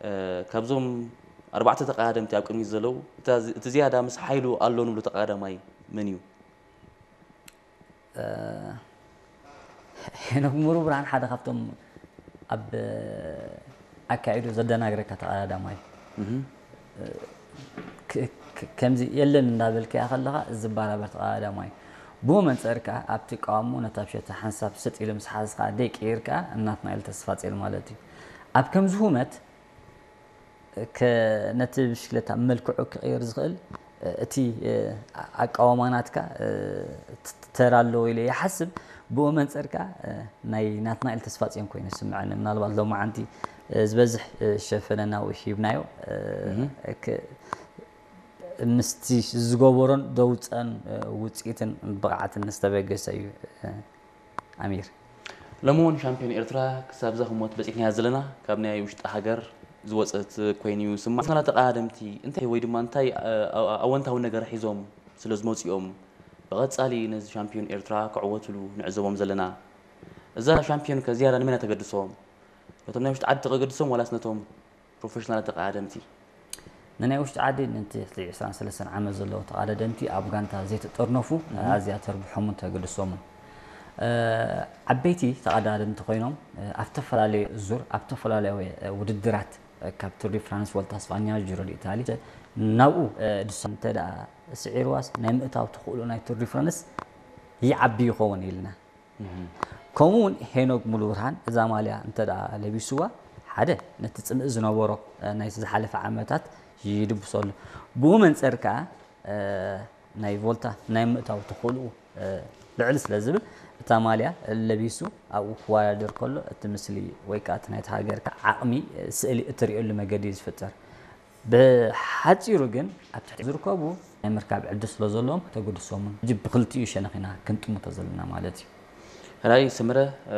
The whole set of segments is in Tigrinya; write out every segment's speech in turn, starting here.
እ፣ ካብዞም ኣርባዕተ ተቐዳደምቲ ኣብ ቅድሚት ዘለዉ፣ እታ ዝ-፣ እቲ ዝያዳ ምስ ሓይሉ ኣሎ ንብሎ ተቐዳዳማይ መን እዩ? እ፣ ሄኖክ ሙሩ ብርሃን ሓደ ካብቶም ኣብ ኣካይዱ ዘደናግረካ ተቐዳዳማይ እዩ። እህ። ክ-፣ ክ-፣ ከምዚ የለን እንዳበልካያ ከለኻ ዝባራበር ተቐዳዳማይ እዩ። ብኡ መንጸር ከኣ ኣብቲ ቀዋሙ ነታ ብሸታ ሓንሳብ ስጥ ኢሉ ምስ ሓዝ ከኣ ደይ ቀይር ከኣ ናትናኤል ተስፋጽዮን ማለት እዩ። ኣብ ከምዚ ሁመት ከ-፣ ነቲ ብሽክለታ መልክዑ ክቕይር ዝኽእል እቲ ኣቃውማ ናትካ ት-፣ ተራ ኣለዎ ኢለ ይሓስብ። ብኡ መንጸር ከኣ ናይ ናትናኤል ተስፋጽዮን ኮይኑ ይስምዐኒ። ምናልባት ሎማዓንቲ ዝበዝሕ ሸፈነ ናብኡ ሂብናዮ። እህ። ክ-፣ ምስቲ ዝገበሮን ዘውጸን ውጽኢትን ብቕዓትን ዝተበገሰ እዩ። ኣሚር። ሎሚ እውን ሻምፒዮን ኤርትራ ክሳብ እዛ ህሞት በጺሕናያ ዘለና ካብ ናይ ውሽጢ ሃገር ዝወጸት ኮይኑ እዩ ዝስማዕ። ናትና ተቐዳደምቲ እንታይ ወይ ድማ እንታይ፣ እ፣ ኣወንታዊ ነገር ሒዞም ስለ ዝመጹ እዮም ብቐጻሊ ነዚ ሻምፒዮን ኤርትራ ክዕወትሉ ንዕዘቦም ዘለና? እዛ ሻምፒዮን ከ ዝያዳ ንመን እያ ተገድሶም? ነቶም ናይ ውሽጢ ዓዲ ተገድሶም ዋላስ ነቶም ፕሮፌሽናል ተቐዳደምቲ? ንናይ ውሽጢ ዓዲ ነቲ ልዕሊ ዕስራን ሰለስተን ዓመት ዘለዉ ተቐዳደምቲ ኣብ ጋንታ ዘይተጠርነፉ፣ እህ። ኣዝያ ተርብሖምን ተገድሶምን። እ፣ ዓበይቲ ተቐዳደምቲ ኮይኖም፣ እ፣ ኣብ ዝተፈላለዩ ዙር፣ ኣብ ዝተፈላለዩ፣ እ፣ ውድድራት፣ እ፣ ካብ ቱር ዲ ፍራንስ፣ ቮልታ ስፓኛ፣ ጂሮ ዲ ኢታሊ፣ ናብኡ፣ እ፣ ድሶም እንተ ደኣ ስዒርዋስ ናይ ምእታው ተኽእሎ ናይ ቱር ዲ ፍራንስ ይዓቢ ይኸውን ኢልና። እህ። ከምኡ እውን ሄኖክ ሙሉብርሃን እዛ ማልያ እንተ ደኣ ለቢስዋ፣ ሓደ ነቲ ጽምእ ዝነበሮ፣ እ፣ ናይ ዝሓለፈ ዓመታት ይድብሰሉ። ብኡ መንጸር ከኣ፣ እ፣ ናይ ቮልታ ናይ ምእታው ተኽእልኡ፣ እ፣ ልዕል ስለ ዝብል እታ ማልያ ለቢሱ ኣብኡ ክወዳደር ከሎ እቲ ምስሊ ወይ ከኣ እቲ ናይቲ ሃገርካ ዓቕሚ፣ እ፣ ስእሊ እትርእየሉ መገዲ እዩ ዝፍጠር። ብሓጺሩ ግን ኣብ ትሕቲ ዝርከቡ ናይ ምርካብ ዕድል ስለ ዘለዎም ተገድሶምን ሕጂ ብክልቲኡ ሸነኽ ኢና ክንጥምቶ ዘለና ማለት እዩ። ሕራይ ስምረ፣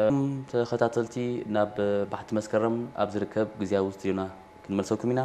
እም፣ ተኸታተልቲ ናብ ባሕቲ መስከረም ኣብ ዝርከብ ግዝያዊ ስቱዲዮና ክንመልሰኩም ኢና።